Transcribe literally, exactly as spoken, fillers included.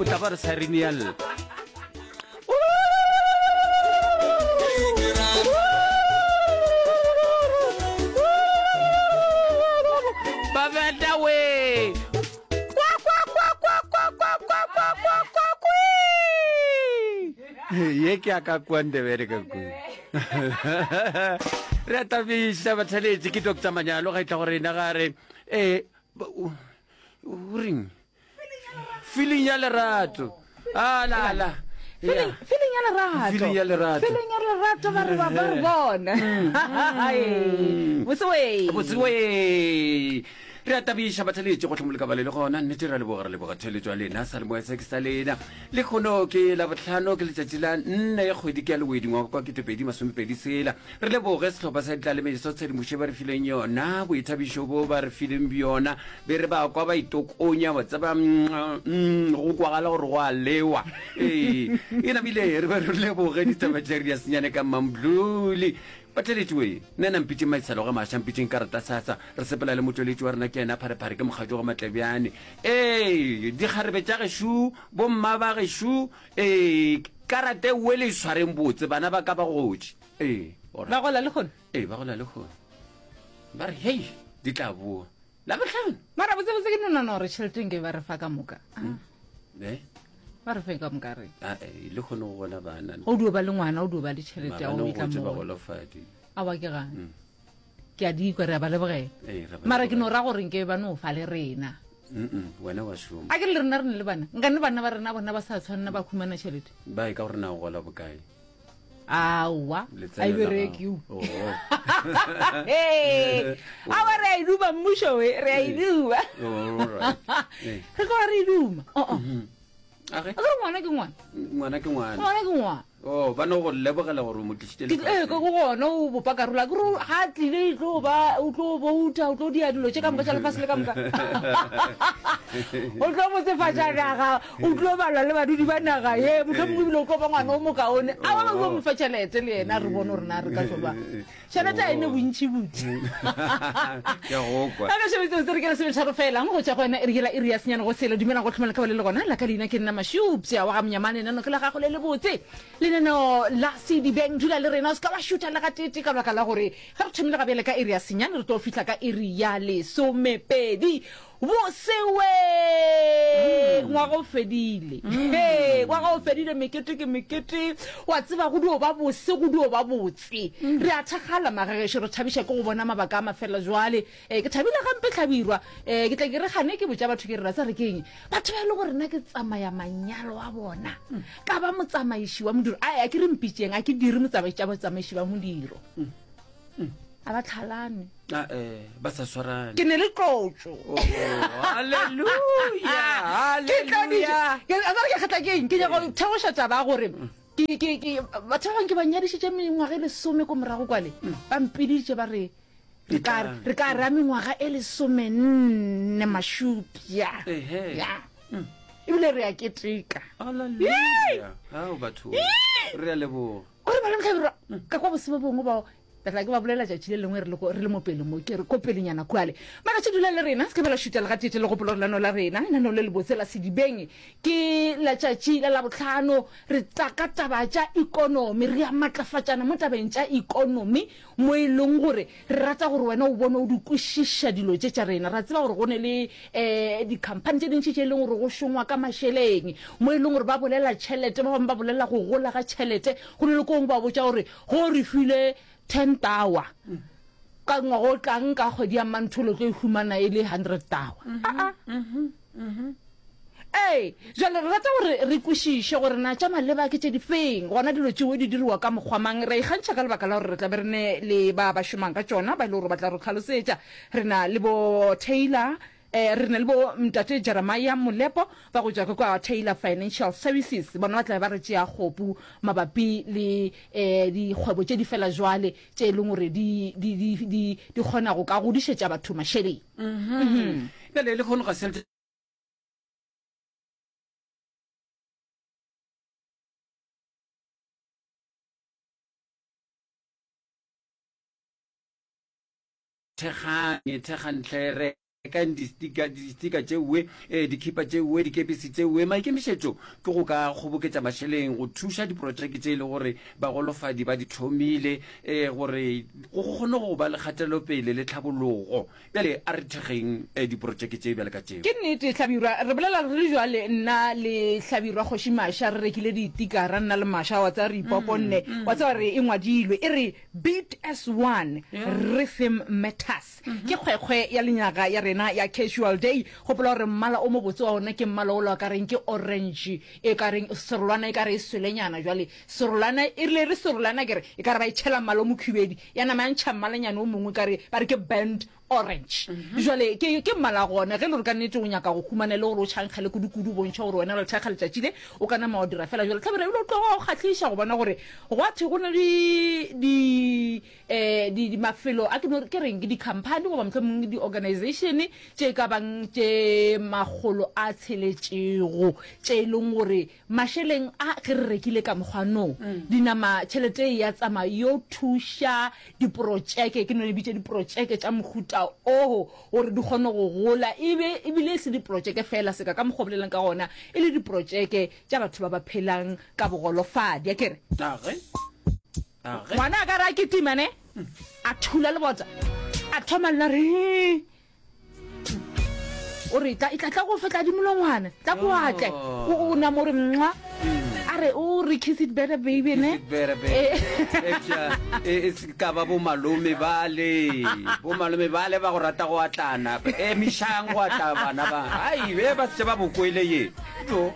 O tla ba re siren ya lla. Babeta we. Kwa kwa kwa kwa kwa kwa kwa kwa kwa kwa kwi. Ye ke ya ka kua Ndebele ka kua. Re a tabiša batheletši ke Doctor Manyalo ga e tla go rena ga re eh o o reng? Feeling ya lerato. Ah la la. Feeling, feeling ya lerato. Feeling ya lerato. Feeling ya lerato ba re ba ba re bona. Botse we. Botse we. Re a tabiša batheletši go hlomoleka ba le le gona nnete re a leboga re leboga theletšo ya lena sa lemoya se ke sa lena le kgono ke labohlano ke letšatši la nne kgwedi ke ya lewedi ngwaga kwa ketepedi masomepedi sela re leboge sehlopha sa ditlalemeso tshedimošo ba re fileng yona boithabišo bo ba re fileng bjona be re ba kwa ba itokonya wa tseba mm, go kwagala gore go a lewa ee e namile re be re leboge ditaba tša re ya senyane ka mambluli Batheletši we, nna na mpitšeng maitshalo ga maša, mpitšeng karata sasa, re sepela le motšweletši wa rena ke yena Pharephare ke mokgatšo ga Matlebjane. Ee, dikgarebe tša gešo, bomma ba gešo, ee, karata ewe le e swareng botse, bana ba ka ba gotše. Ee, Ba gola lehono? Ee, ba gola lehono. Ba re, hei, di tla boa. Labohlano. Mara botsebotse ke no nagana gore tšhelete nke ba re fa ka moka. Mm. Eh? Ba re fe ka moka re. Ah, eh, le kgone go bona bana. Go dio ba le ngwana, o dio ba le tšhelete ya go Maabane itla go tse mo. bagolofadi. Awa ke gane. Mm. Ke a di kwa re a ba lebogela. Ee, re ba Mara ke no lebogela. ra gore nke ba no fa le rena. Mm-mm, wena wa šoma. A ke le rena re ne le bana. Nkane bana ba rena bona ba sa tshwanna ba khumana tšhelete. Ba e ka gore na o gola bokae? Aowa, Letseno a e la bereke gago. o. Oh. Hey, awa re a e duma mmušo we, re a e duma. All right. Eh. Re tloga re e duma. Oh, oh. Mhm. A ge? A ke re ngwana ke ngwana. Ngwana ke ngwana. Ngwana ke ngwana. Oh, ba no go lebogela gore o mo tlišitše Ke, ee, ke lefaseng. go gona o bopa karolo. A ke re ga a tlile e tlo ba, o tlo bouta, o tlo dia dilo tše ka moka tša lefase le ka moka. O tlo botsefatša naga, o tlo balwa le badudi ba naga ye, mohlomongwe ebile o tlo ba ngwana o mokaone. A ba bangwe ba mo fa tšhelete le yena, re bone gore na re ka tlo ba. Tšhelete a e ne bontši butši. Ke a go kwa. Ka šebetso se re ke lesometharo fela go tšwa go yona iri yela iri ya senyane go selo. Dumelang go hlomela ka ba le le gona. La ka leina ke nna Mašupša wa ga Monyamane. Lenaneo ke la gago le lebotse, lenaneo la Sedibeng. Dula le rena, o se ka wa šutha le gatete ka baka la gore ge re thomile ga bjale ka iri ya senyane re tlo fihla ka iri ya lesomepedi. Bosewe! Ngwaga o fedile. Hee, ngwaga o fedile, mekete ke mekete. Wa tseba, go dio ba bose, go dio ba botse. Re a thakgala, magagešo, re thabiša ke go bona mabaka a mafela jwale. Eh, ke thabile gampe, Hlabirwa. Eh, ke tla ke re gane ke botša batho ke re, ra re ke eng? Batho ba e le gore nna ke tsamaya manyalo a bona, ka ba motsamaiši wa modiro. Ai, a ke re mpitšeng, a ke dire motsamaiši tša batsamaiši ba modiro. A ba tlhalane. Ah, eh, ba sa swarane. Ke ne le tlotšo. Oh, hallelujah, Ke tloditše. hallelujah. Ke, a tsare ke kgatla ke eng? Ke nyaka go theoša taba ya gore ke, ke, ke, batho ba bangwe ke ba nyadišitše mengwaga e lesome ko morago kwale. Ba mpiditše ba re, re ka, Etlang. re ka ra mengwaga e lesomenne mašupša. Ehe. Ya. Ebile re a keteka. Hallelujah. Ao batho, re a leboga. Gore ba le Mohlabirwa, ka kwa bose bo bongwe bao Ke tla ke ba bolela tšatši le lengwe re le ko, re le mo pele mo, ke re ko pelenyana kwale. Mara tše dula le rena, se ke be la šutha le gateetee le gopola gore lenaneo la rena, lenaneo le lebotse la Sedibeng, ke letšatši la Labohlano. Re tla ka taba tša ikonomi, re a matlafatšana mo tabeng tša ikonomi, mo e leng gore re rata gore wena o bone o di kwešiša dilo tše tša rena. Ra tseba gore go ne le um dikhamphani tše dintši tše e leng gore go šongwa ka mašeleng, mo e leng gore ba bolela tšhelete, ba bangwe ba bolela go gola ga tšhelete, go ne le ko gongwe ba botša gore go re file ten tower ka ngwaga o tlang ka kgwedi ya Mantholo tlo e humana e le hundred tower. Aa. Ee, jwale re rata gore re kwešiše gore na tša maleba ke tše di feng, gona dilo tšeo di diriwa ka mokgwa mang. Re a ikgantšha ka lebaka la gore re tla be re ne le ba ba šomang ka tšona ba e le gore ba tla re hlalosetša. Re na le bo Taylor, eh, re na le bo Ntate Jeremiah Molepo ba go tšwa ka kwa Taylor Financial Services. Bona ba tla be ba re tšea kgopu mabapi le, eh, dikgwebo tše di fela jwale tše e leng gore di, di, di, di, di kgona go ka godišetša batho mašeleng. Mhm. Bjale lehono ga se thekganye, thekgantle re. Rekang distika, distika tšeoe, eh, dikhipa tšeoe, dikepisi tšeoe. Maikemišetšo ke go ka kgoboketša mašeleng go thuša diprotšeke tše e le gore bagolofadi ba di thomile, eh, gore go kgone go ba le kgatelopele le tlhabologo. Bjale a re thekgeng eh, diprotšeke tše bjale ka tšeo. Ke nnete, Hlabirwa. Re bolela re le jwale, nna le Hlabirwa Kgoši Masha re rekile ditikara, nna le Masha, wa tseba re ipoponne. Wa tseba re e ngwadilwe, e re Beat as One, Rhythm Matters. Ke kgwekgwe ya lenyaga ya rena ya Casual Day. Gopola gore mmala o mobotse wa ona ke mmala ola o ka reng ke orange, e ka reng serolwana e ka re e swelenyana. Jwale serolwana e rile re serolwana ke re e ka re ba e tšhela mmala o mokhubedi, ya nama ya ntšha mmalanyana o mongwe e ka re ba re ke burnt orange. Jwale ke ke mmala gona. Ge e le gore ka nnete o nyaka go humana e le gore o tšhankgele kudu-kudu, o bontšhe gore wena o le thekga letšatši le, o ka nama wa dira fela jwalo. Hlabirwa ebile o tloga o kgahliša go bona gore gwa thwe go na le di eh, di, di mafelo a ke no ke reng ke di-company goba mohlomongwe di-organization tše ka bang tše makgolo a tsheletšego tše e leng gore mašeleng a ge re rekile ka mokgwa no dinama tšhelete e ya tsamaya yo thuša diprotšeke, ke no le bitša diprotšeke tša mohuta oo gore di kgone go gola, ebe ebile e se diprotšeke fela seka ka mokgwa o bolelang ka gona e le diprotšeke tša batho ba ba phelang ka bogolofadi, a ke re. Age. Age. Ngwana a ka re a kitima ne a thula lebota a thoma lla re o re tla tla tla go fetla dimolongwana tla ko atle o o nama o re mwa a re o re kiss it better baby ne. Kiss it better, baby. Eh. Eupša, e e se ka ba bomalome bale, bomalome bale ba go rata go atlana, emišang go atla bana ba, ai be ba setse ba bokwele ye. Jo.